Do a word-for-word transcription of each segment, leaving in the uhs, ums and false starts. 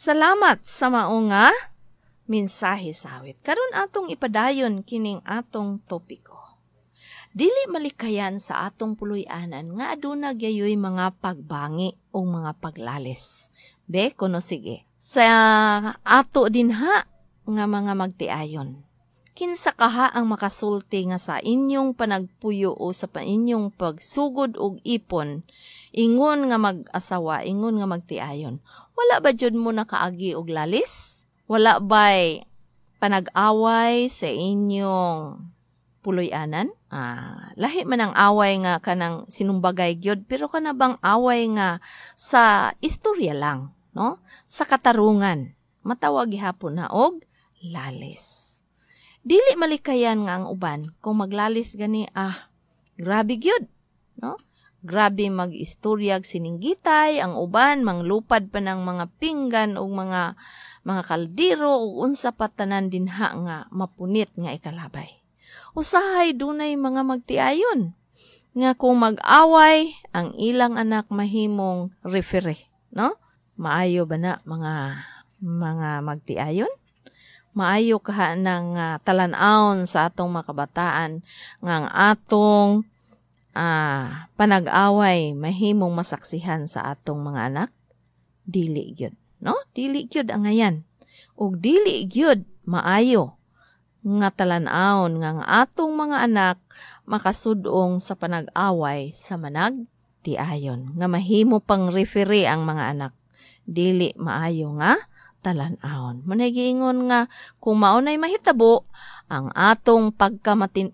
Salamat sa mao nga mensahe sa awit. Karon atong ipadayon kining atong topiko. Dili malikayan sa atong puloy-anan nga aduna gyayoy mga pagbangi o mga paglalis. Be, kuno sige. Sa ato dinha nga mga magtiayon. Kinsa kaha ang makasulti nga sa inyong panagpuyo o sa inyong pagsugod og ipon, ingon nga mag-asawa, ingon nga magtiayon. Wala ba jud mo nakaagi og lalis? Wala ba'y panag-away sa inyong puloy-anan? Ah, lahi man ang away nga kanang sinumbagay gyud, pero kana bang away nga sa istorya lang, no? Sa katarungan, matawag gihapon na og lalis. Dili malikayan nga ang uban kung maglalis gani, ah, grabe gyud, no? Grabe mag-istoryag sininggitay, ang uban manglupad pa ng mga pinggan ug mga mga kaldero ug unsa pa tanan dinha nga mapunit nga ikalabay. Usahay dunay mga magtiayon nga kung mag-away ang ilang anak mahimong referee, no? Maayo ba na mga mga magtiayon? Maayo kaha ng uh, talan-awon sa atong mga kabataan nga ang atong uh, panag-away mahimong masaksihan sa atong mga anak? Dili gyud, no? Dili gyud angayan. Ug dili gyud maayo nga talan-awon nga ang atong mga anak makasudong sa panag-away sa manag tiayon nga mahimo pang referee ang mga anak. Dili maayo nga talan-awon. Munay giingon nga kung mao nay mahitabo ang atong pagkamatin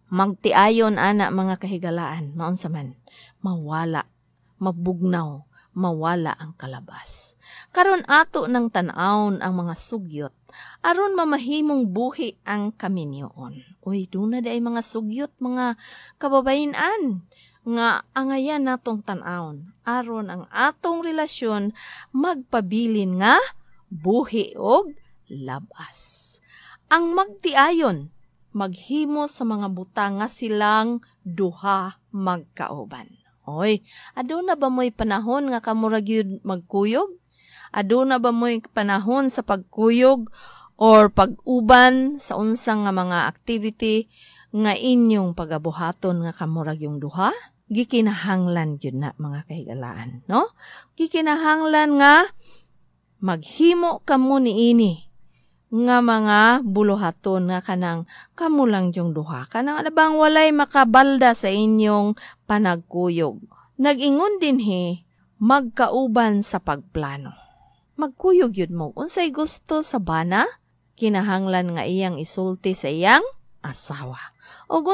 magtiayon ana, mga kahigalaan, maunsa man, mawala, mabugnaw, mawala ang kalabas. Karon ato nang tan-awon ang mga sugyot aron mamahimong buhi ang kaminyoon. Uy, duna diay mga sugyot, mga kababayen-an, nga angayan natong tan-awon aron ang atong relasyon magpabilin nga buhi og labas. Ang magtiayon maghimo sa mga butang nga silang duha magkauban. Oy, aduna ba mo'y panahon nga kamo ra gyud magkuyog? Aduna ba mo'y panahon sa pagkuyog or pag-uban sa unsang nga mga activity nga inyong pagabuhaton nga kamo ra gyung duha? Gikinahanglan gyud na, mga kahigalaan, no? Gikinahanglan nga maghimo kamo niini nga mga buluhaton nga kanang kamo lang yung duha, kanang bang walay makabalda sa inyong panagkuyog. Nag-ingon dinhi, magkauban sa pagplano. Magkuyog yun mo unsay gusto sa bana, kinahanglan nga iyang isulti sa iyang asawa. O